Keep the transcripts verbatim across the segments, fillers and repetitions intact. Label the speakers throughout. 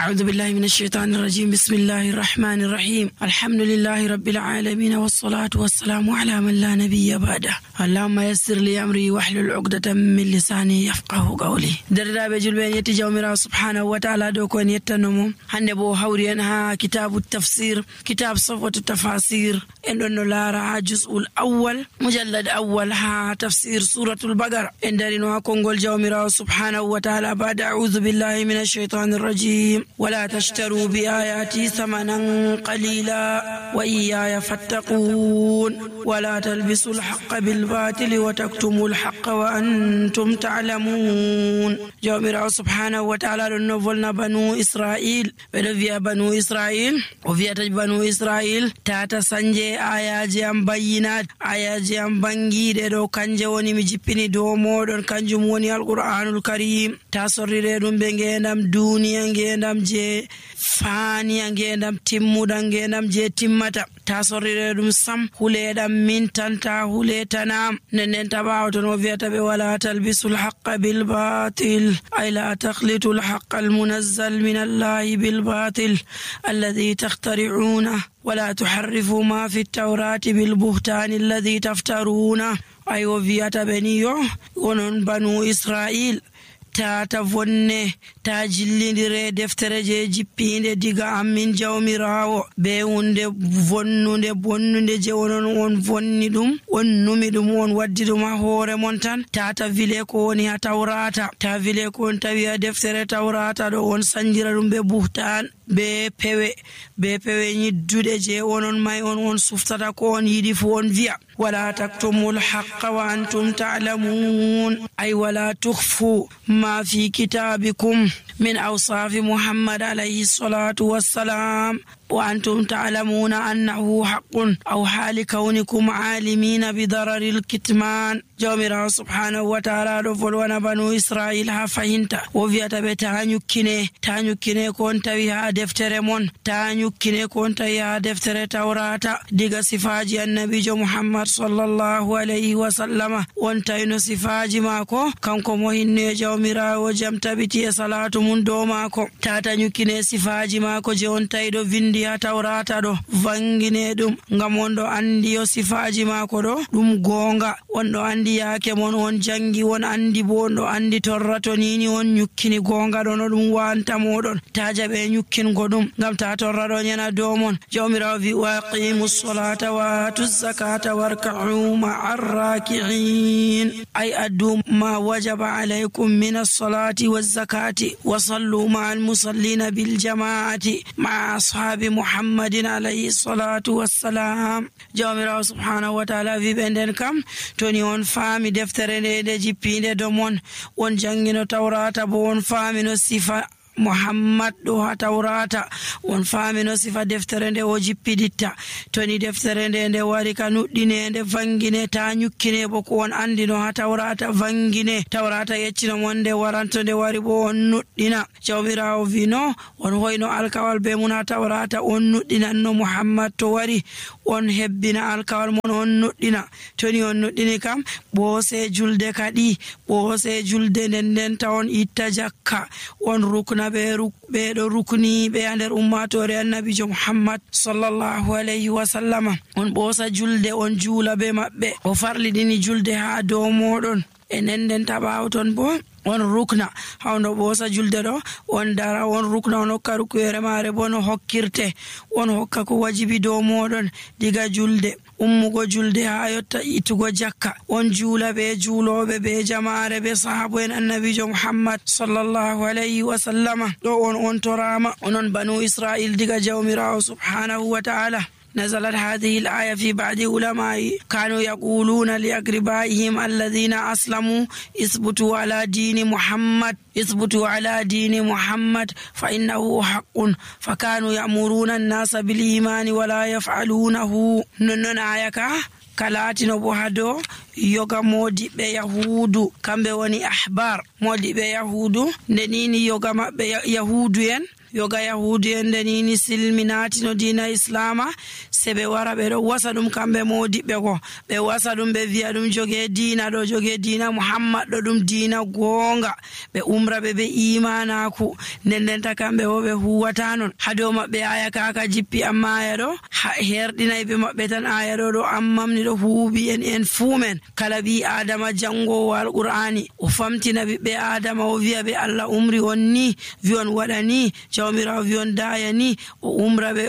Speaker 1: أعوذ بالله من الشيطان الرجيم. بسم الله الرحمن الرحيم. الحمد لله رب العالمين والصلاة والسلام على من لا نبي بعده. اللهم يسر لي أمري واحلل عقدة من لساني يفقه قولي. دردا بجلبين يتجاومرا سبحانه وتعالى دوكون يتنمو هنde bo hawri en ha kitabu tafsir kitab safwatu tafasir en don lara juz'ul awwal mujallad awwal ha tafsir suratul baqara en darino ha kongol jawmira subhanahu wa ta'ala ba'da a'udhu billahi minash shaitanir rajim wala tashtaru bi ayati thamanan qalila wa iyaya fattaqun wala talbisul haqqa bil batili wa taktumul haqqa wa antum ta'lamun. Jawmira subhanahu wa ta'ala don novolna banu Israil bedo via banu Israil o viata banu Israil tata sanje ayaji am bayyinat ayaji am bangide do kanje woni mi jippini do modon kanjum woni alquranul karim ta sorrire dum be ngendam duniya ngendam je fani ngendam timmuda ngendam je timmata ta sorrire dum sam huledam min tanta huletanam nenen tabawto no viata be wala talbisul haqqa bil batil ay la takhlitul haqqa al munazzal min allahi bil batil alladhi takhtari'una ولا تحرفوا ما في التوراة بالبهتان الذي تفترونه. أي وفيات بنيو ونن بنو إسرائيل tata vonne ta jillindire deftere je jippinde diga amin jawmirawo be hunde vonnude bonnude je wonon on vonni dum on numi dum on waddi dum ha hoore mon tan tata vile ko woni ha tawrata ta vile ko on tawi ha deftere tawrata do on sanjira dum be buhtan be pewe be pewe nyiddude je wonon may on on suftata ko on yidi fu on via wala taktumul haqqa wa antum ta'lamun ay wala tukhfu ما في كتابكم من أوصاف محمد عليه الصلاة والسلام وأنتم تعلمون أنه حق أو حال كونكم عالمين بضرر الكتمان. جومرا سبحانه وتعالى رفلونا بنو إسرائيل هفهنت وفيات بتانيو كيني تانيو كيني كونت ويها دفتر من تانيو كيني كونت ويها دفتر توراتا ديغا صفاجي النبي جو محمد صلى الله عليه وسلم وانتينو صفاجي ماكو كانكو مهني جومرا وجمت بتي صلاة من دو ماكو تاتانيو كيني صفاجي ماكو جون تايدو vindi ha tawrata do vangine dum ngam on do andi yo sifaji mako do dum gonga on do andi yake mon on jangi won andi bo on do andi torrato nini on nyukkini gonga do no dum wanta modon taja be nyukkin godum ngam ta torrado nyana do mon jawmira vi waqimus salata wa tuz zakata warka'u ma'ar raki'in ay addu ma wajaba alaykum min as-salati waz zakati wa sallu ma'al musallina bil jama'ati ma'a ashabi محمد عليه الصلاة والسلام. جامرا سبحانه وتعالى في بندن كم توني on fami deftere de jippinde domon on jangino tawrata bo on fami no sifa Muhammad do ha tawrata on famino sifa deftere nde o jippiditta toni deftere nde nde wari ka nuddine nde vangine ta nyukkine bo ko on andino ha tawrata vangine tawrata yeccino monde waranto nde wari bo on nuddina jawmirawo vino on hoyno alkawal be mun ha tawrata on nuddina no Muhammad to wari on hebbina alkawal mon on nuddina toni on nuddini kam bo se julde kadi bo se julde nden nden ta on itta jakka on rukna be ruk be do rukni be ander ummatore annabi jo Muhammad sallallahu alaihi wasallam on bosa julde on jula be mabbe o farli dini julde ha do modon enen den tabawton bo on rukna hawno bosa julde do on dara on rukna on hokka rukuyere mare bo no hokkirte on hokka ko wajibi do modon diga julde ummugo julde ha yotta itugo jakka on jula be julobe be jamaare be sahabo en annabi jo Muhammad sallallahu alaihi wasallam do on on torama onon banu Israil diga jawmirawo subhanahu wa ta'ala. نزلت هذه الآية في بعض علماء كانوا يقولون لأقربائهم الذين أسلموا اثبتوا على دين محمد اثبتوا على دين محمد فإنه حق فكانوا يأمرون الناس بالإيمان ولا يفعلونه. ننن آية kalatino bo hado yoga modi be yahudu kambe woni ahbar modi be yahudu ndenini yoga mabbe yahudu en yoga yahudi en denini silminati no dina islama sebe wara be do wasa dum kambe modibe go be wasa dum be viya dum joge dina do joge dina muhammad do dum dina gonga be umra be be imana ku nden ta kambe wo be huwata non hado mabbe aya kaka jippi amma aya do herdinay be mabbe tan aya do do ammamni do huubi en en fumen kala bi adama jango wal qur'ani o famtina be adama o viya be allah umri wonni vion wadani jawmira vion dayani o umra be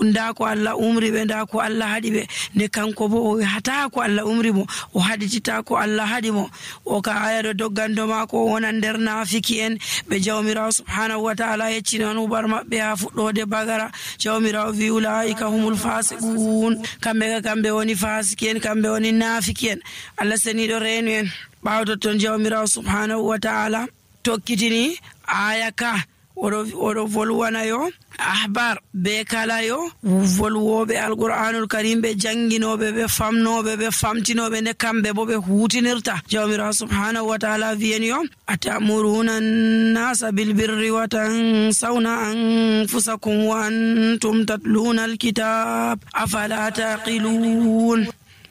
Speaker 1: nda ko allah umri be nda ko allah hadi be ne kanko bo o hata ko allah umri mo o haditita ko allah hadi mo o ka aya do doggando mako wona nder nafiki en be jawmira subhanahu wa ta'ala yecci non bar mabbe ha fuddode bagara jawmira vi ulaika humul fasiqun kambe kambe woni fasiken kambe woni nafiken allah seni do renu en bawdo ton jawmira subhanahu wa ta'ala tokkitini aya ka odo odo volwana yo ahbar be kala yo volwobe alquranul karim be janginobe be famnobe be famtinobe ne kambe bo be hutinirta jawmira subhanahu wa ta'ala viyen yo atamuruna an-nasa bil birri wa tansawna anfusakum wa antum tatluna al-kitab afala taqilun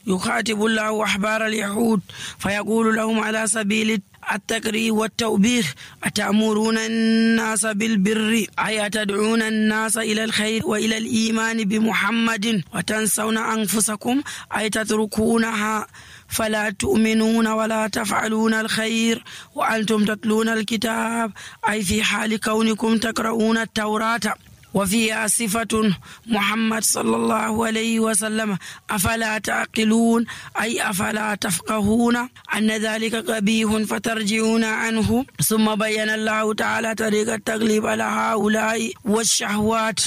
Speaker 1: يخاطب الله أحبار اليهود فيقول لهم على سبيل التقرير والتوبيخ أتأمرون الناس بالبر أي تدعون الناس إلى الخير وإلى الإيمان بمحمد وتنسون أنفسكم أي تتركونها فلا تؤمنون ولا تفعلون الخير وأنتم تتلون الكتاب أي في حال كونكم تقرؤون التوراة وفيها صفة محمد صلى الله عليه وسلم أفلا تعقلون أي أفلا تفقهون أن ذلك قبيح فترجعون عنه ثم بين الله تعالى طريق التغليب على هؤلاء والشهوات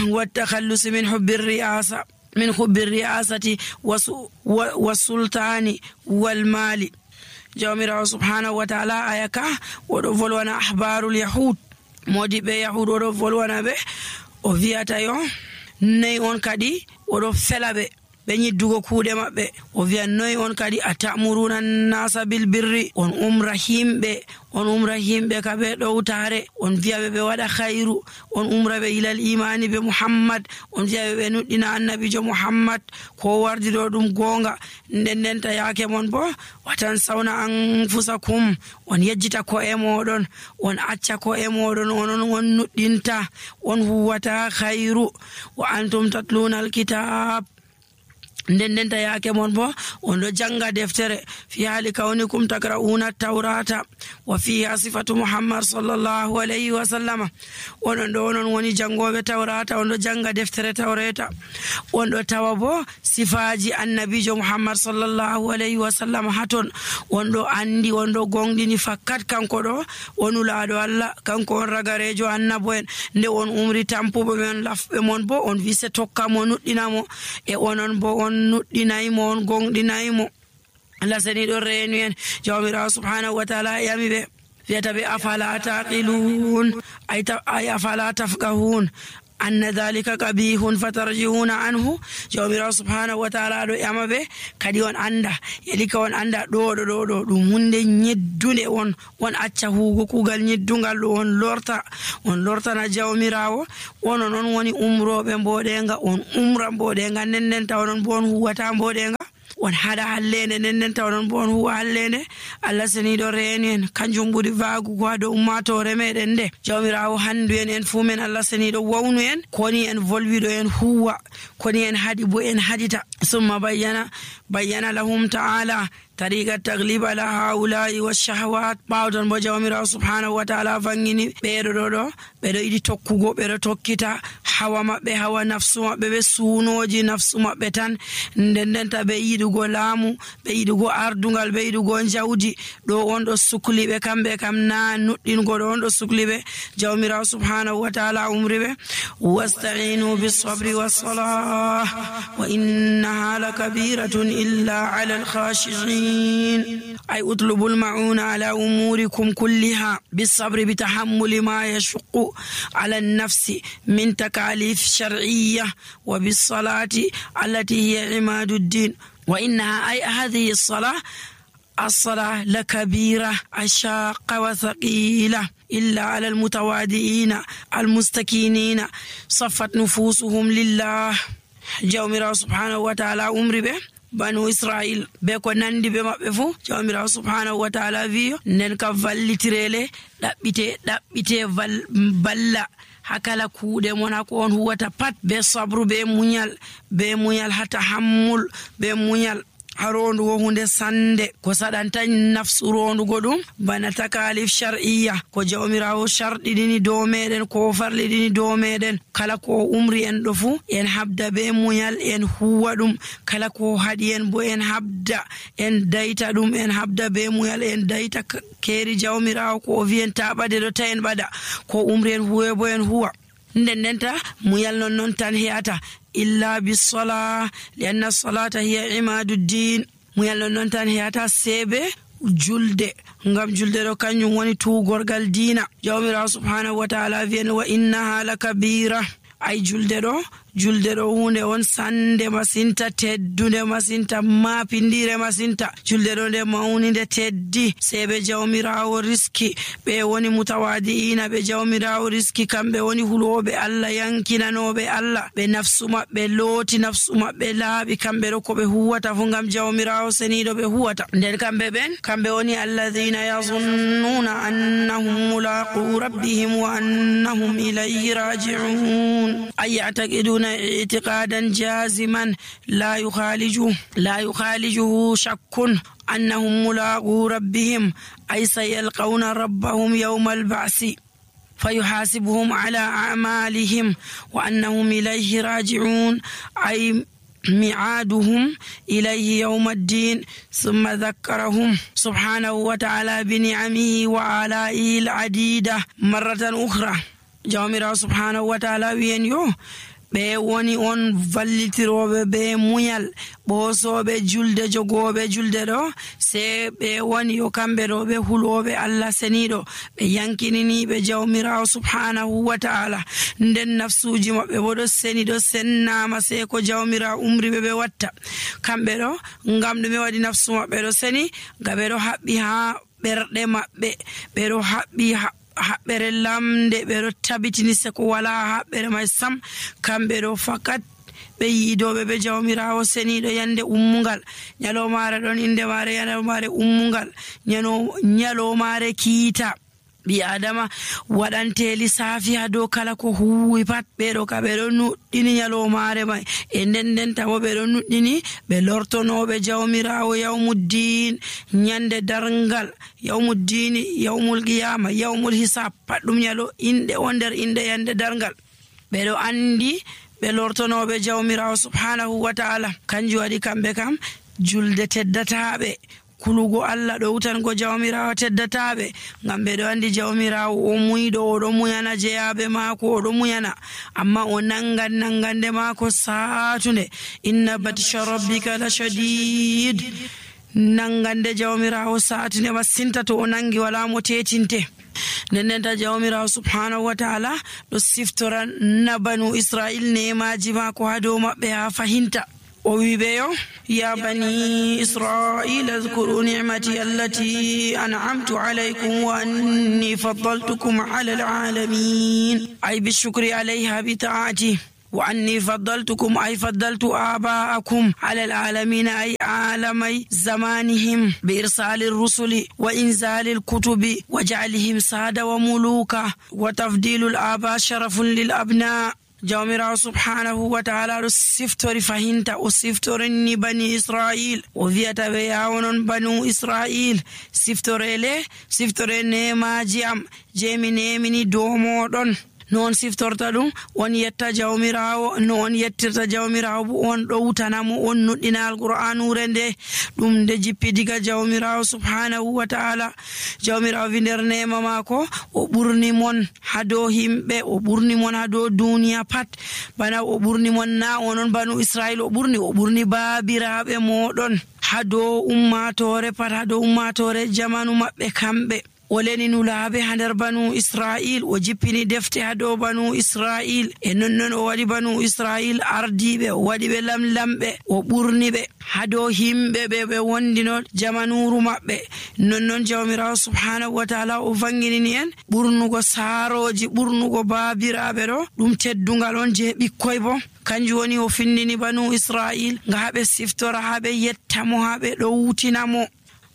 Speaker 1: والتخلص من حب الرئاسة من حب الرئاسة والسلطان والمال جامر سبحانه وتعالى آيكا ودفلونا أحبار اليهود modi be yahudo do volwana be o viata yo nay on kadi o do felabe be nyiddugo kuude mabbe o viya noy on kadi atamuruna nasa bil birri on umra himbe on umra himbe ka be do utare on viya be wada khairu on umra be ilal imani be muhammad on viya be nuddina annabi jo muhammad ko wardi do dum gonga nden ta yake mon bo watan sauna anfusakum on yejjita ko e modon on acca ko e modon on on nuddinta on huwata khairu wa antum tatluna alkitab nden nden ta yake mon bo on do janga deftere fi hali kaunikum takrauna tawrata wa fiha sifatu muhammad sallallahu alayhi wa sallam on do non woni jangobe tawrata on do janga deftere tawreta on do tawa bo sifaji annabijo muhammad sallallahu alayhi wa sallam haton on do andi on do gongdini fakkat kanko do onulaado allah kanko on ragarejo annabo en nde on umri tampubo men lafbe mon bo on vise tokka mo nuddinamo e onon bo on nuddinaymo on gongdinaymo Allah seni do renu en jawmira subhanahu wa ta'ala yami be fiyata be afala taqilun ay afala tafqahun anna dhalika qabihun fatarjiuna anhu jawmira subhanahu wa ta'ala do yama be kadi on anda yelika on anda do do do do dum hunde nyeddunde on on acca hugo kugal nyeddungal do on lorta on lorta na jawmirawo on non woni umrobe mbodenga on umra mbodenga nennen tawon bon huwata mbodenga on hada hallene nennen tawon bon huwa hallene Allah seni do renen kanjum buri vagu ko do ummatore meden de jawmirawo handu en en fumen Allah seni do wawnu en koni en volvido en huwa koni en hadi bo en hadita summa bayyana bayyana lahum ta'ala tariqa taglib ala haula'i washahawat bawdon bo jawmirawo subhanahu wa ta'ala vangini beedo do do beedo idi tokkugo beedo tokkita hawa mabbe hawa nafsu mabbe be suunoji nafsu mabbe tan ndendenta be yidugo laamu be yidugo ardungal be yidugo jawdi do on do sukli be kambe kam na nuddingo do on do sukli be jawmirawo subhanahu wa ta'ala umribe wasta'inu bis sabri was salah wa innaha lakabiratun illa 'ala al khashi'in أي اطلبوا المعونة على أموركم كلها بالصبر بتحمل ما يشق على النفس من تكاليف شرعية وبالصلاة التي هي عماد الدين وإنها أي هذه الصلاة الصلاة لكبيرة الشاقة وثقيلة إلا على المتواضعين المستكينين صفت نفوسهم لله. jawmirawo subhanahu wa ta'ala umri ɓe banu Israil be ko nandi be maɓɓe fu jawmirawo subhanahu wa ta'ala wiyo nden ka vallitirele ɗaɓɓite ɗaɓɓite balla hakala kuuɗe mon hako on huwata pat be sabru be muñal be muñal hata hammul be muñal harondugo hunde sande ko saɗanta nafsu rondugo ɗum bana takalif shar'iyya ko jawmirawo sharɗiɗini dow meɗen ko farliɗini dow meɗen kala ko umri en ɗo fu en habda be muñal en huwa ɗum kala ko haɗi en bo en habda en dayta ɗum en habda be muñal en dayta keeri jawmirawo ko o wiyen ta ɓade ɗo ta en ɓaɗa ko umri en huwe bo en huwa nden ndenta muñal non non tan heyata illa bisola lianna solata hiya imaduddin muyal non non tan heyata sebe julde ngam julde ɗo kanjum woni tugorgal diina jawmirawo subhanahu wa ta'ala wiyen wa innaha lakabira ay julde ɗo julde ɗo hunde on sande masinta teddude masinta mapindire masinta julde ɗo nde mawnide teddi sebe jawmirawo riski ɓe woni mutawadiina ɓe jawmirawo riski kamɓe woni huloɓe Allah yankinanoɓe Allah ɓe nafsu maɓɓe looti nafsu maɓɓe laaɓi kamɓe ɗo ko ɓe huwata fu ngam jawmirawo seniɗo ɓe huwata nden kamɓe ɓen kamɓe woni alladhina yazunnuna annahum mulaqu rabbihim wa annahum ilayhi raji'un ay ya'taqiduna اعتقادا جازما لا يخالجه لا يخالجه شك أنهم ملاقو ربهم أي سيلقون ربهم يوم البعث فيحاسبهم على أعمالهم وأنهم إليه راجعون أي ميعادهم إليه يوم الدين ثم ذكرهم سبحانه وتعالى بنعمه وآلائه العديدة مرة أخرى jawmirawo subhanahu wa ta'ala wiyen yo ɓe woni on vallitiroɓe be muñal ɓoosoɓe julde jogoɓe julde ɗo se ɓe woni yo kamɓe ɗo ɓe huloɓe Allah seniɗo ɓe yankininiɓe jawmirawo subhanahu wa ta'ala nden nafsuji maɓɓe bo ɗo seni ɗo sennama se ko jawmirawo umriɓe ɓe watta kamɓe ɗo ngam ɗume waɗi nafsu maɓɓe ɗo seni ga ɓe ɗo haɓɓi ha ɓerɗe maɓɓe ɓe ɗo haɓɓi haɓɓere lamde ɓe ɗo tabitini se ko wala haɓɓere may sam kamɓe ɗo fakat ɓe yiidoɓe ɓe jawmirawo seniɗo yande ummugal ñalomare ɗon inde mare ñalomare ummugal ñalomare kiita ɓi adama waɗante lissafi ha dow kala ko huwi pat ɓeɗo ka ɓeɗo nuɗɗini ñalomare may e nden nden tamo ɓeɗo nuɗɗini ɓe lortonoɓe jawmirawo yawmuddin ñande darngal yawmuddini yawmul qiyama yawmul hisab pat ɗum ñalo inɗe o nder inɗe yande darngal ɓeɗo andi ɓe lortonoɓe jawmirawo subhanahu wa ta'ala kanjum waɗi kamɓe kam julde teddataɓe kulugo Allah ɗo wutango jawmirawo teddataɓe ngam ɓeɗo andi jawmirawo o muyɗo oɗo muyana jeyaɓe maako oɗo muyana amma o nangan nangande maako satunde inna batisha rabbika la shadid nangande jawmirawo satunde masinta to o nangi wala mo tetinte nennenta jawmirawo subhanahu wa ta'ala ɗo siftora na banu Israil nemaji maako ha dow maɓɓe ha fahinta o wiɓeyo ya bani israila اذكروا نعمتي التي أنعمت عليكم وأني فضلتكم على العالمين أي بالشكر عليها بطاعتي وأني فضلتكم أي فضلت آباءكم على العالمين أي عالمي زمانهم بإرسال الرسل وإنزال الكتب وجعلهم سادة وملوكا وتفضيل الآباء شرف للأبناء jawmirawo subhanahu wa ta'ala ɗo siftori fahinta o siftorinni bani Israil o wiyata ɓe yawonon banu Israil siftorele siftore nemaji am je mi nemini dow moɗon non siftorta ɗum on yetta jawmirawo no on yettirta jawmirawo bo on ɗo wutanamo on nuɗɗina alqur'anure nde ɗum nde jippi diga jawmirawo subhanahu wa ta'ala jawmirawo wi nder nema mako o ɓurni mon ha dow himɓe o ɓurni mon ha dow duniya pat bana o ɓurni mon na onon banu Israil o ɓurni o ɓurni babiraɓe moɗon ha dow ummatore pat ha dow ummatore jamanu maɓɓe kamɓe o leni nulaaɓe ha nder banu Israil, o jippini defte ha dow banu Israil, e nonnon o waɗi banu Israil ardiɓe, o waɗi ɓe lamlamɓe, o ɓurni ɓe ha dow himɓe ɓe ɓe wondino jamanuru maɓɓe. Nonnon jawmirawo subhanahu wa ta'ala o vanginini en ɓurnugo saaroji, ɓurnugo baabiraɓe ɗo ɗum teddungal on je ɓikkoy bo. Kanjum woni o findini banu Israil nga haɓe siftora, haɓe yettamo, haɓe ɗowtinamo.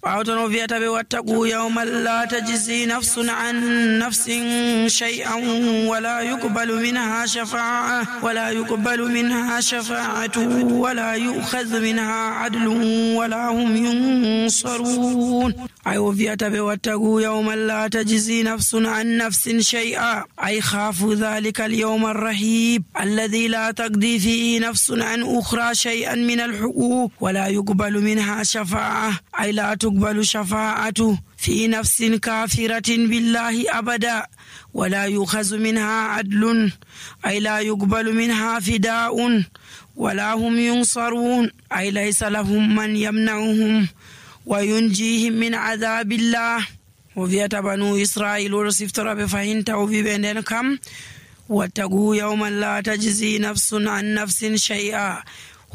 Speaker 1: ɓawton o wiyata ɓe wattaqu yawman la tajzi nafsun an nafsin shay'an wala yuqbalu minha shafa'a wala yuqbalu minha shafa'atu wala yu'khadhu minha adlun wala hum yunsarun. ay o wiyata ɓe wattaqu yawman la tajzi nafsun an nafsin shay'a ay khafu dhalika al-yawm ar-rahib alladhi la taqdi fihi nafsun an ukhra shay'an min al-huquq wala yuqbalu minha shafa'a ay la تقبل شفاعة في نفس كافرة بالله أبدا ولا يؤخذ منها عدل أي لا يقبل منها فداء ولا هم ينصرون أي ليس لهم من يمنعهم وينجيهم من عذاب الله. وفيت بنو إسرائيل ورسفتر بفهنت وبيبين كم واتقوا يوما لا تجزي نفس عن نفس شيئا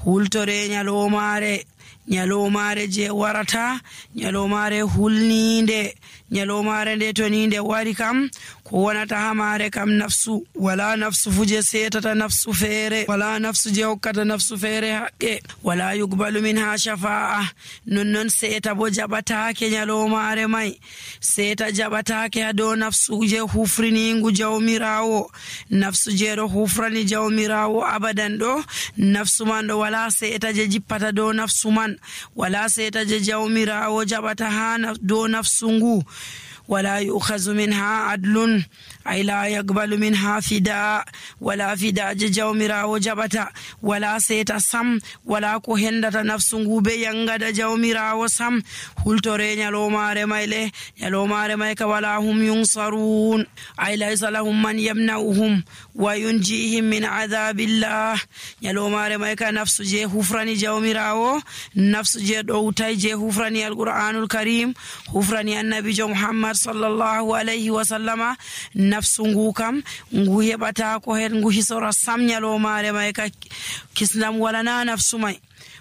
Speaker 1: هلترين يلوماري nyalomare je warata, nyalomare hulninde, nyalomare nde to ninde wari kam ko wonata ha mare kam nafsu, wala nafsu fuje setata nafsu fere, wala nafsu je hokkata nafsu fere haqqe, wala yuqbalu minha shafa'a, nonnon seta bo jabatake nyalomare mai, seta jabatake ha dow nafsu je hufriningu jawmirawo, nafsu je do hufrani jawmirawo abadan do, nafsu man do wala seta je jippata dow nafsu man, wala seta je jawmirawo jabata ha dow nafsu ngu. ولا يؤخذ منها عدل أي لا يقبل منها فداء ولا فداء جومرا وجبتا ولا سيتا سم ولا كهندة نفس غوبي ينغد جومرا وسم هلتوري نيالو ماري مايلي نيالو ماري مايك ولا هم ينصرون أي ليس لهم من يمنعهم وينجيهم من عذاب الله نيالو ماري مايك نفس جي هفراني جومرا نفس جي دوتاي جي هفراني القرآن الكريم هفراني النبي جو محمد sallallahu alayhi wa sallama nafsu ngu kam ngu yebata ko hen ngu hisora samnyalo mare may ka kisnam wala na nafsu may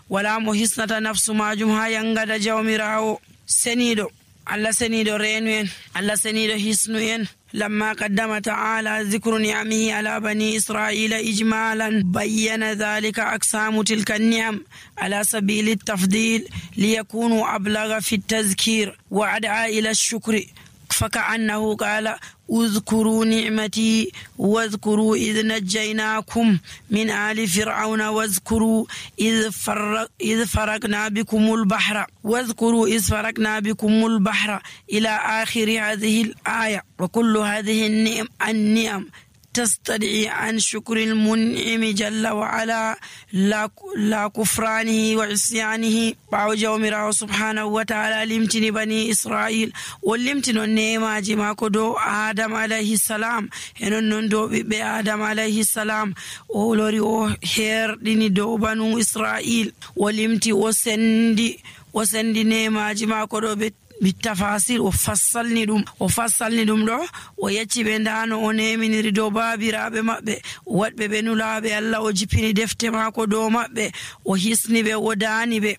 Speaker 1: wala mo hisnata nafsu majum ha yangada jawmirawo senido alla senido renu en alla senido hisnu en لما قدم تعالى ذكر نعمه على بني إسرائيل إجمالا بين ذلك أقسام تلك النعم على سبيل التفضيل ليكونوا أبلغ في التذكير وأدعى إلى الشكر فكأنه قال اذكروا نعمتي واذكروا إذ نجيناكم من آل فرعون واذكروا إذ, فرق إذ فرقنا بكم البحر واذكروا إذ فرقنا بكم البحر إلى آخر هذه الآية. وكل هذه النعم, النعم تستدعي عن شكر المنعم جل وعلا لا, لا كفرانه وعصيانه. باو جومرا سبحانه وتعالى لمتني بني إسرائيل ولمتن النعمة جما كدو آدم عليه السلام هنون دو بي آدم عليه السلام أولوري أو هير ديني دو بنو إسرائيل ولمتي وسندي وسندي نعمة جما كدو بي بالتفاصيل وفصلني دوم وفصلني دوم دو ويتي بندانو ونيميني دو بابيرابه مابbe wadbe benulaabe Allah o jipini defte mako do mabbe o hisni be o daani be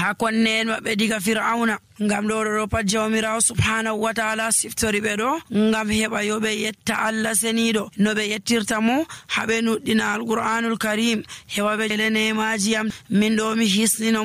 Speaker 1: ha konnen mabbe diga fir'auna ngam do do pat jawmirawo subhanahu wa ta'ala siftori be do ngam heba yobe yetta Allah senido no be yettirta mo habe nuddina alquranul karim heba be lene majiyam min do mi hisni no